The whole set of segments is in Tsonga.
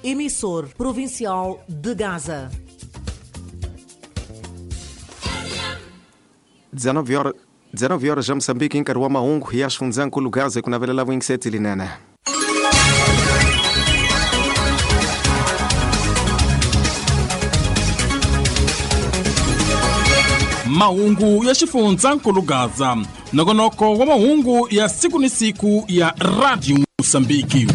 Emissor provincial de Gaza. 19 horas 19 horas ja Moçambique em nkarhi wa mahungu ya xifundzankulu Gaza ku navelela vuyingiseti linene. Mahungu ya xifundzankulu Gaza, nongonoko wa mahungu ya siku ni siku ya Radio Mosambiki.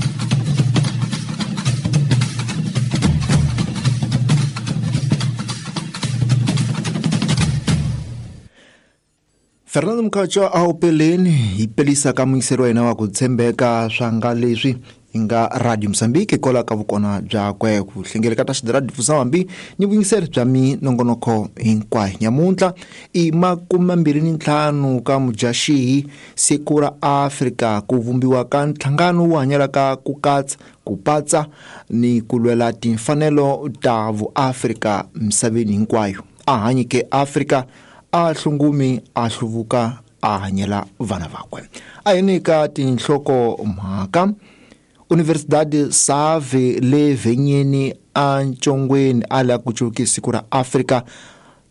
Fernando Mkhatshwa a wu peleni hi pelisa ka muyingiseri wa hina wa ku tshembeka swa nga leswi hi nga Radio Mozambique hikwalaho ka vukona byakwe ku hlengeleka ta xidiradi hambi ni vuyingiseri bya minongonoko hinkwayo. Nyamuntlha i 25 ka Mudyaxihi, siku ra Afrika, ku vumbiwa ka nhlangano wu hanyelaka ku katsa ku patsa ni ku lwela timfanelo ta vuAfrika misaveni hinkwayo. A hanyike Afrika, a hlungumi, a hluvuka, a hanyela vana vakwe. A hi nyika tinhloko mhaka. Universidade Save le Venyeni a Ntshongweni a la ku cuki siku ra Afrika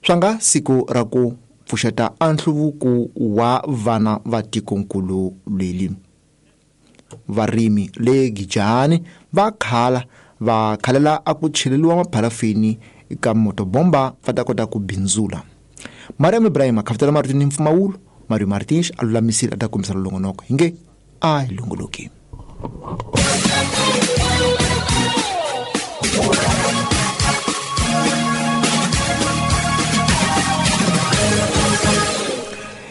swa nga siku ra ku pfuxeta a nhluvuko wa vana va tikonkulu leli. Varimi le Gijani va khala va khalela a ku cheleliwa mapharafini ka motobomba va ta kota ku bindzula. Mariam Ibrahim akhavutela marito ni mpfumawulo, Mario Martins a lulamisile a ta kombisa longonoko hi nge a hi longoloki.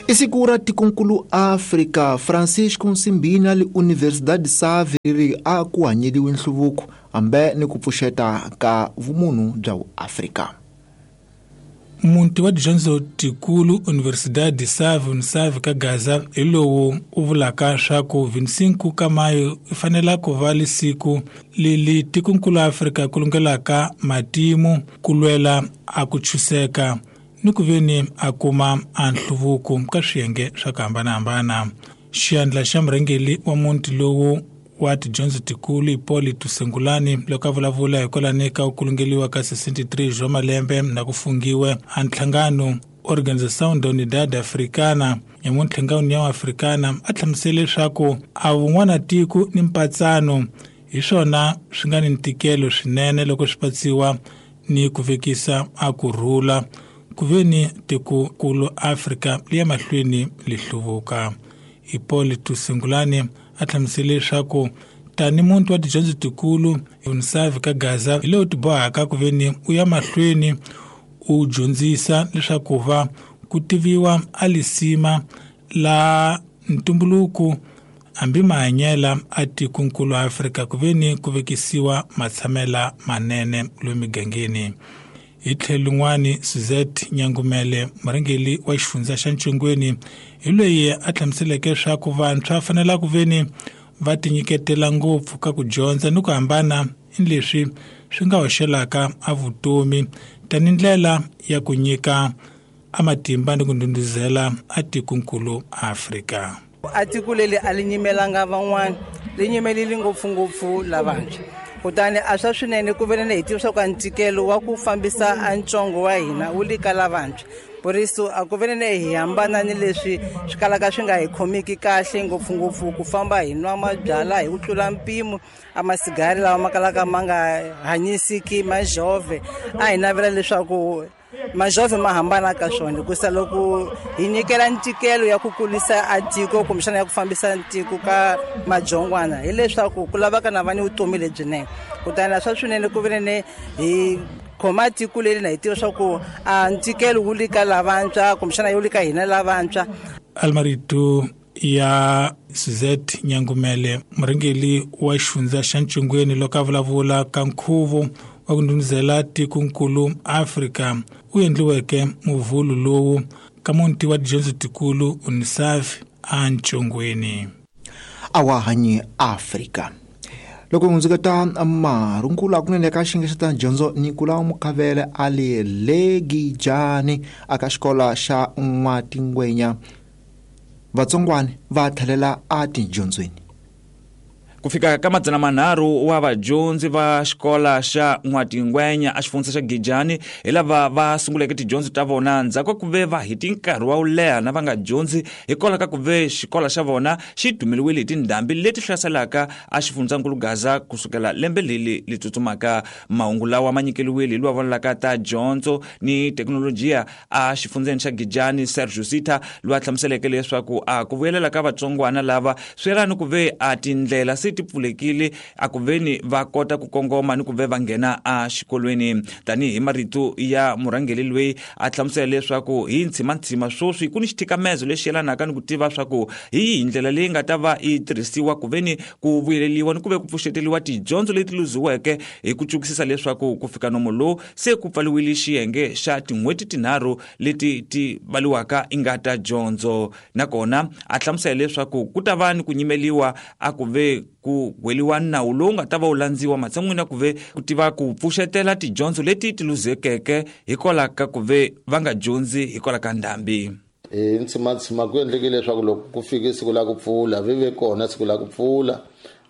I siku ra tikonkulu Afrika, Francisco Nsimbina le Universidade Save ri a ku hanyeliwe nhluvuko hambe ni ku pfuxeta ka vumunhu bya Afrika. Muti wa tidyondzo tikulu Universidade Save Unisave ka Gaza hi lowu u vulaka swa ku 25 ka Mayo i fanela ku va lisiku leli tikonkulu Afrika ku lungelaka matimu ku lwela a ku chuseka ni ku veni a kuma a nhluvuko ka swiyenge swa ku hambanahambana. Xiyandla xa murhangeri wa muti lowu wa tidyondzo tikulu Hipólito Sengulani loko a vulavula hikwalani ka ku kulungeliwa ka 63 bya malembe na ku fungiwe a nhlangano Organização da Unidade Africana ya muntlhangano União Africana a hlamusele leswaku a vun'wana tiko ni mpatsano hi swona swi nga ni ntikelo swinene loko swi patsiwa ni ku vekisa a ku rhula ku veni tikokulu Afrika li ya mahlweni li hluvuka. Hipólito Sengulani a hlamusele leswaku tani muntu wa tidyondzo tikulu Unisave ka Gaza hi lowu tibohaka ku veni u ya mahlweni u dyondzisa leswaku va ku tiviwa a lisima la ntumbuluko hambi mahanyela a tikonkulu Afrika ku veni ku vekisiwa matshamela manene lomu migangeni. Hi tlhelo lin'wani, Suzette Nyangumele, murhangeri wa xifundza xa Ntshongweni, hi loyi a hlamuseleke leswaku vantshwa fanela ku veni va tinyiketela ngopfu ka ku dyondza ni ku hambana ni leswi swi nga hoxelaka a vutomi tani ndlela ya ku nyika a matimba ni ku ndhundhuzela a tikonkulu Afrika. A tiko leri a li nyimelanga van'wana, li nyimelile ngopfungopfu lavantshwa. Kutani a swa swinene ku veni hi tiva swa ku ntikelo wa ku fambisa a ntsongo wa hina wu le ka lavantshwa. Por isso a ku veni hi hambana ni leswi swi kalaka swi nga hi khomiki kahle ngopfungopfu ku famba hi nwa mabyalwa hi ku tlula mpimo a masigari lawa ma kalaka ma nga hanyisiki majove. A hi navela leswaku majove ma hambana ka swona hikusa loko hi nyikela ntikelo ya ku kulisa a tiko kumbexana ya ku fambisa ntiko ka majongwana hileswaku ku lavaka na va ni vutomi lebyinene. Kutani swa swinene ku veni hi khoma tiko leri na hi tiva swa ku a ntikelo wu le ka lavantshwa kumbexana wu le ka hina lavantshwa. Almarito ya Suzette Nyangumele, murhangeri wa xifundza xa Ntshongweni loko a vulavula ka nkhuvo wa ku ndhundhuzela tikonkulu Afrika u endliweke muvhulu lowu ka muti wa tidyondzo tikulu Unisave a Ntshongweni. A wa hanyi Afrika. Loko hi hundzuketa marungula kunene ka xiyenge xa ta dyondzo Nicolau Mukhavele a le Legijani aka xikolo xa N'watingwenya, vatsongwana va tlhelela a tidyondzweni. Ku fika ka 300 wa vadyondzi va xikola xa N'watingwenya a xifundza xa Gijani hi lava va sunguleke tidyondzo ta vona ndzhaku ka ku ve va heti nkarhi wa wo leha na va nga dyondzi hikwalaho ka ku ve xikola xa vona xi dumeliwile hi tindhambi leti hlaselaka a xifundzankulu Gaza kusukela lembe leli li tsutsumaka. Mahungu lawa ma nyikeliwile hi lowa vonelaka ta dyondzo ni thekinolojiya a xifundzeni xa Gijani Sergio Sita, loyi a hlamuseleke leswaku a ku vuyelela ka vatsongwana lava swi yelana ni ku ve a tindlela se ti pfulekile a ku veni va kota ku kongoma ni ku ve va nghena a xikolweni. Tanihi marito ya murhangeri loyi a hlamusela leswaku hi ntshimanthsima sweswi ku ni xithikamezo lexi yelanaka ni ku tiva swa ku hi yihi ndlela leyi nga ta va yi tirhisiwa ku veni ku vuyeleliwa ni ku ve ku pfuxeteliwa tidyondzo leti luziweke hi ku cukisisa leswaku ku fika nomo lowu se ku pfaliwile xiyenge xa tin'hweti tinharhu leti ti valiwaka i nga ta dyondzo. Nakona a hlamusela leswaku ku ta va ni ku nyimeliwa a ku ve ku gweliwa nawu lowu nga ta va wu landziwa matshan'wini ya ku ve ku tiva ku pfuxetela tidyondzo leti ti luzekeke hikwalaho ka ku ve va nga dyondzi hikwalaho ka ndhambi. Hi ntshimanthsima ku endlekile leswaku loko ku fike siku la ku pfula vi ve kona siku la ku pfula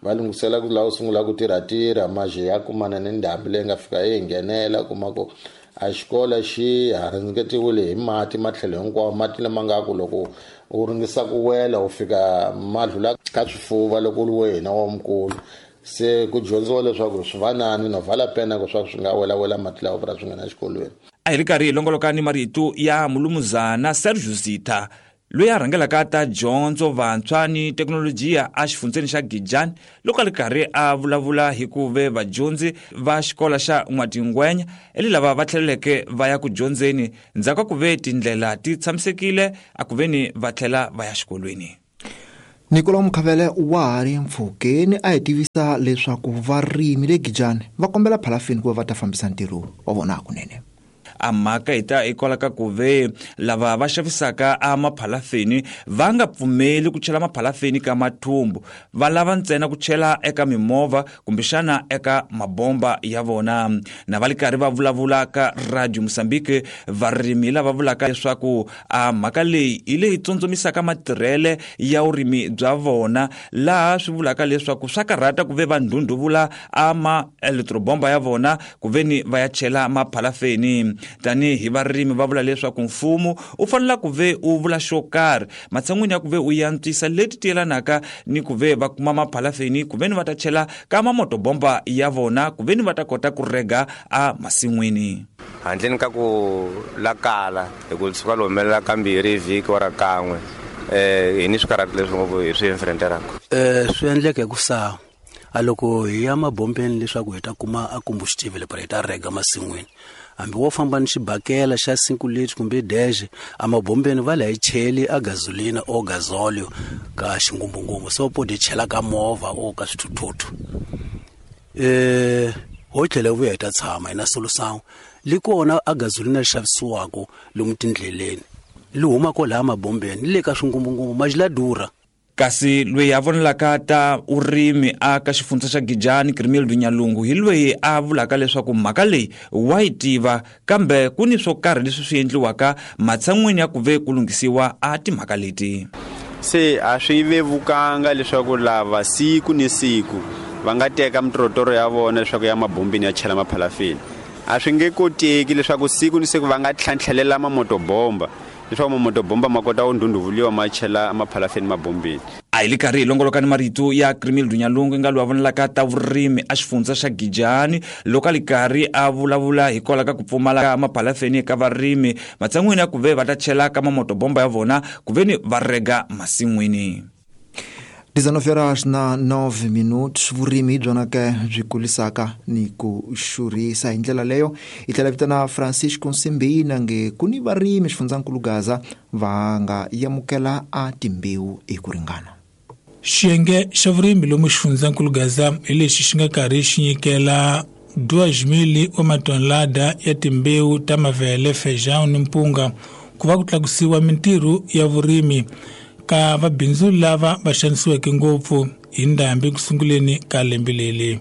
va lunghisela ku lava sungula ku tirha maje ya kumana ni ndhambi leyi nga fika yi nghenela kuma ku a xikolo xi haringetiwile hi mati matlhelo hinkwawo, mati lama nga ku loko u ringisa ku wela u fika madlula ka swifuva loko u ri wena wa mukulu. Se ku dyondziwa leswaku swi vanani no vala pena ku swa swi nga welawela mati lawa vula swi nghena exikolweni. A hi ri karhi hi longoloka ni marito ya mulumuzana Sergio Zitha, loyi a rhangelaka ta dyondzo vantshwa ni thekinolojiya a xifundzeni xa Gijani, loko a ri karhi a vulavula hi ku ve vadyondzi va xikola xa N'watingwenya eli lava va tlheleleke va ya ku dyondzeni ndzhaku ka ku ve tindlela ti tshamisekile a ku veni va tlhela va ya xikolweni. Nicolau Mukhavele wa ha ri mpfhukeni a hi tivisa leswaku varimi le Gijani va kombela phalafini ku va va ta fambisa ntirho wa vona hakunene. A mhaka hi ta hikwalaho ka ku ve lava va xavisaka a maphalafeni va nga pfumeli ku chela maphalafeni ka mathumbu, va lava ntsena ku chela eka mimovha kumbexana eka mabomba ya vona. Na va li karhi va vulavula ka Radio Mozambique, varimi lava vulaka leswaku a mhaka leyi hi leyi tsondzomisaka matirhele ya vurimi bya vona, laha swi vulaka leswaku swa karhata ku ve va ndhundhuvula a ma elektrobomba ya vona ku veni va ya chela maphalafeni. Tanihi varimi va vula leswaku mfumo u fanela ku ve u vula xo karhi matshan'wini ya ku ve u yantswisa leti ti yelanaka ni ku ve va kuma maphalafeni ku veni va ta chela ka mamotobomba ya vona ku veni va ta kota ku rega a masin'wini. Handleni ka ku lakala hi ku suka lo humelela kambirhi hi vhiki wa ra kan'we, hi ni swikarhati leswi ngopfu hi swi enfrenteraka. Swi endleka hi ku sa a loko hi ya mabombeni leswaku hi ta kuma a combustible para hi ta rega masin'wini, hambi wo famba ni xibakela xa 5 liters kumbe dash a mabombeni va la hi cheli a gasolina o gasolio ka xingumbungumbu, so po di chela ka movha o ka swithuthuthu. Ho tlhela vuya hi ta tshama hi na solution li kona a gasolina li xavisiwaka lomu tindleleni li huma kwalaha mabombeni ni le ka swingumbungumbu maji la durha. Kasi loyi a vonelaka ta vurimi a ka xifundza xa Gijani Grimildo Nyalungu hi loyi a vulaka leswaku mhaka leyi wa yi tiva, kambe ku ni swo karhi leswi swi endliwaka matshan'wini ya ku ve ku lunghisiwa a timhaka leti. Se a swi vevukanga leswaku lava siku ni siku va nga teka mitorotoro ya vona leswaku ya mabombini ya chela maphalafini. A swi nge koteki leswaku siku ni siku va nga tlhantlhelela mamotobomba leswaku mamotobomba ma kota ku ndhundhuvuliwa ma chela maphalafeni mabombeni. A hi li karhi hi longoloka ni marito ya Grimildo Nyalungu nga loyi a vonelaka ta vurimi a xifundza xa Gijani loko a li karhi a vulavula hikwalaho ka ku pfumala ka maphalafeni eka varimi matshan'wini ya ku ve va ta chela ka mamotobomba ya vona ku ve ni va rega masin'wini. 19 horas na 9 minutos. Vurimi hi byona ke byi kulisaka ni ku xurhisa hi ndlela leyo. Hi tlhela vitana Francisco Nsimbina nge ku ni varimi xifundzankulu Gaza va nga yamukela a timbewu hi ku ringana. Xiyenge xa vurimi lomu xifundzankulu Gaza hi lexi xi nga karhi xi nyikela 2,000 wa matonelada ya timbewu ta mavele, feijão ni mpunga ku va ku tlakusiwa mintirho ya vurimi ka vabindzu lava va xanisiweke ngopfu hi ndhambi ku sunguleni ka lembe leri.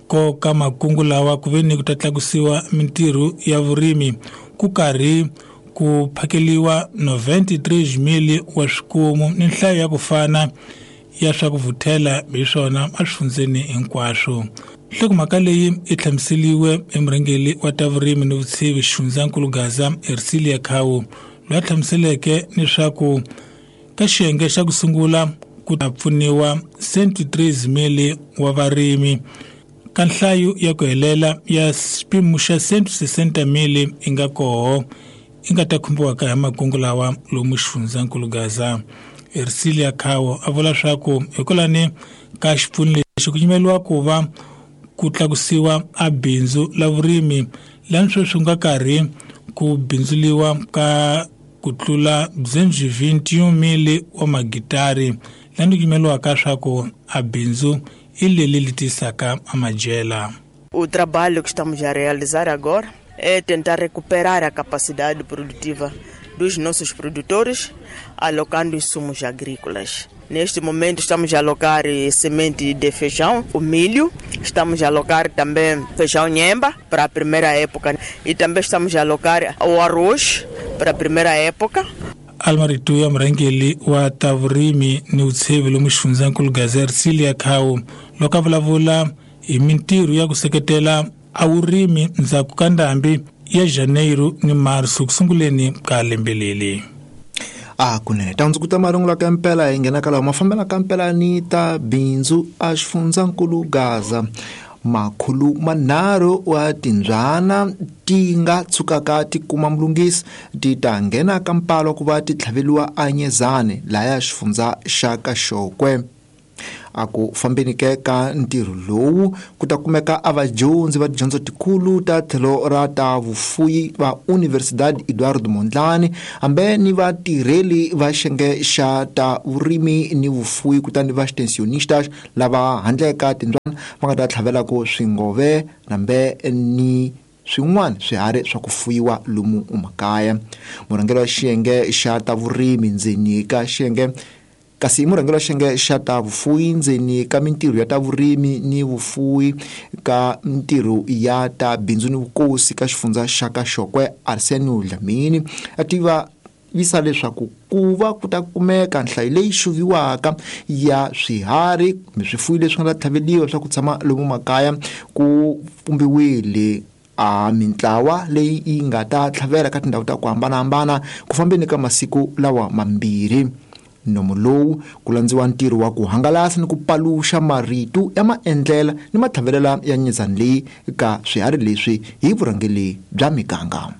Ko ka makungu lawa ku ve ni ku ta tlakusiwa mintirho ya vurimi ku karhi ku phakeliwa 93,000 wa swikomu ni nhlayo ya ku fana ya swa ku vuthela hi swona eswifundzeni hinkwaswo. Nhlokomhaka leyi yi hlamuseriwe hi murhangeri wa ta vurimi ni vutshivi xifundzankulu Gaza Ercilia Khawu, loyi a hlamuseleke leswaku ka xiyenge xa ku sungula ku ta pfuniwa 103 wa varimi ka nhlayo ya ku helela ya xipimo xa 160 yi nga koho yi nga ta khumbiwaka hi makungu lawa lomu xifundzankulu Gaza. Ercilia Khawu a vula leswaku hikwalani ka xipfuno lexi ku yimeriwa ku va ku tlakusiwa a bindzu la vurimi lani sweswi nga karhi ku bindzuliwa ka ku tlula 21 wa magitari lani ku yimeriwaka swa ku a bindzu i leli li tisaka amajela. O trabalho que estamos a realizar agora é tentar recuperar a capacidade produtiva dos nossos produtores, alocando insumos agrícolas. Neste momento estamos a alocar semente de feijão, o milho, estamos a alocar também feijão nhemba para a primeira época e também estamos a alocar o arroz para a primeira época. Almarito ya murhangeri wa ta vurimi ni vutshivi lomu xifundzankulu Gaza Ercilia Khawu loko a vulavula hi mintirho ya ku seketela a vurimi ndzhaku ka ndhambi ya Janeiro ni Marso ku sunguleni ka lembe leri. A kunene ta hundzukuta marungulo ka mpela hi nghena ka lawa mafambela ka mpela ni ta bindzu a xifundzankulu Gaza. 300 wa timbyana ti nga tshukaka ti kuma mulunghisi ti ta nghena ka mpalo ku va ti tlhaveliwa anyezane laya xifundza xa Kaxokwe. A ku fambeni ke ka ntirho lowu ku ta kumeka a vadyondzi va tidyondzo tikulu ta tlhelo ra ta vufuyi va Universidade Eduardo Mondlane hambe ni vatirheli va xiyenge xa ta vurimi ni vufuyi kutani va extensionistas lava handle ka timbyana va nga ta tlhavelaka swingove nambe ni swin'wana swiharhi swa ku fuyiwa lomu makaya. Murhangeri wa xiyenge xa ta vurimi ndzeni ka xiyenge kasi murhangeri wa xiyenge xa ta vufuyi ndzeni ka mintirho ya ta vurimi ni vufuyi ka mintirho ya ta bindzu ni vukosi ka xifundza xa Kaxokwe Arsenio Dlamini a tiva visa leswaku ku va ku ta kumeka nhlayo leyi xuviwaka ya swiharhi kumbe swifuyi leswi nga ta tlhaveliwa swa ku tshama lomu makaya ku pfumbiwile a mintlawa leyi yi nga ta tlhavela ka tindhawu ta ku hambanahambana ku fambeni ka masiku lawa mambirhi. Nomo lowu ku landziwa ntirho wa ku hangalasa ni ku paluxa marito ya maendlela ni matlhavelela ya nyizani leyi ka swiharhi leswi hi vurhangeri bya miganga.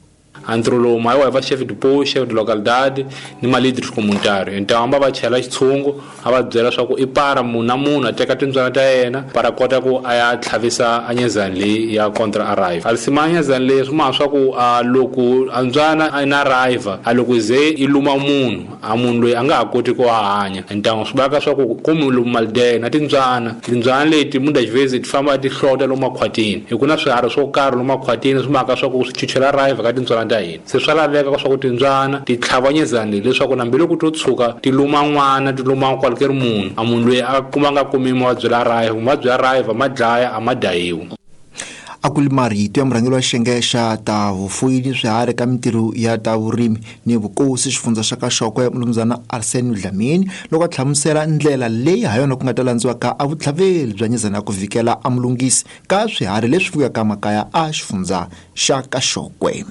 Ntirho lowu ma va chef de poste, chef de localidade ni ma líderes comunitários. Então va chela xitshungu a va byela swa ku i para munhu na munhu a teka timbyana ta yena para kota ku a ya tlhavisa anyezani leyi ya contra arrive. Alisima anyezani leyi swi ma swa ku a loko a mbyana a na arrive a loko ze i luma munhu a munhu loyi a nga ha koti ku hanya. Então swi vaka swa ku komu lomu maldeya na timbyana leti muitas vezes ti famba ti hlota lomu makhwatini hi ku na swiharhi swo karhi lomu makhwatini swi maka swa ku swi chuchela arrive ka timbyana ta hina. Se swa laveka swa ku timbyana ti tlhavanyezani leswaku nambi loko to tshuka ti luma n'wana ti luma kwalukeri munhu a munhu loyi a kuma nga kumi mavabyi la arrive mavabyi ya arrive ma dlaya a ma dayiwi. A ku li marito ya murhangeri wa xiyenge xa ta vufuyi ni swiharhi ka mintirho ya ta vurimi ni vukosi xifundza xa Kaxokwe Mnumzana Arsenio Dlamini loko a hlamusela ndlela leyi ha yona ku nga ta landziwaka a vutlhaveli bya nyizana ya ku vikela a mulunghisi ka swiharhi leswi fuyaka makaya a xifundza xa Kaxokwe.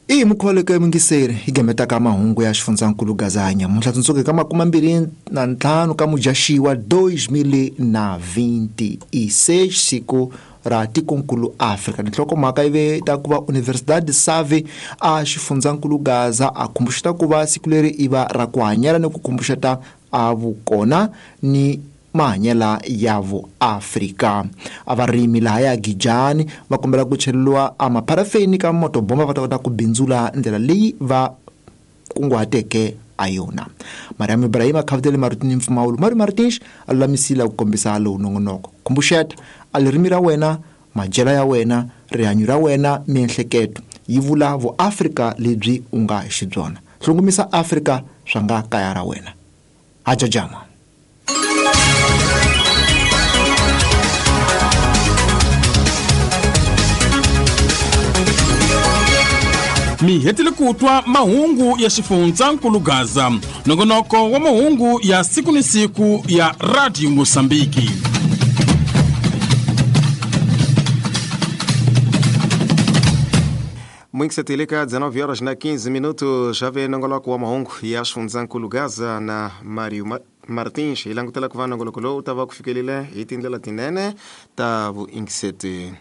I mukhuva ya mingiseri hi gemetaka mahungu ya xifundzankulu Gaza nyamuntlha tsundzuka ka 25 ka Mudyaxiwa 2026 siku ra tikonkulu Afrika. Nhlokomhaka yi ve ta ku va Universidade Save a xifundzankulu Gaza a khumbuxeta ku va siku leri i va ra ku hanyela ni ku khumbuxeta a vukona ni mahanyela ya vuAfrika. A varimi laha ya Gijani va kombela ku cheleriwa a mapharafeni ka motobomba va ta kota ku bindzula ndlela leyi va kunguhateke a yona. Mariam Ibrahim a khavutele marito mpfumawulo Mari Martins a lulamisile ku kombisa lowu nongonoko. Khumbuxeta a ririmi ra wena, madyelo ya wena, rihanyo ra wena, miehleketo yi vula vuAfrika lebyi u nga xibyona. Hlungumisa Afrika swa nga kaya ra wena. Hajajama. Mi hetile ku twa mahungu ya xifundzankulu Gaza, nongonoko wa mahungu ya siku ni siku ya Radio Mosambiki. Mwingiseteleka 19 horas na 15 minutos já vem nongoloko wa mahungu ya xifundzankulu Gaza na Mario Martins. Hi langutela ku va nongoloko lowu ta va ku fikelile hi tindlela tinene ta vuingiseti.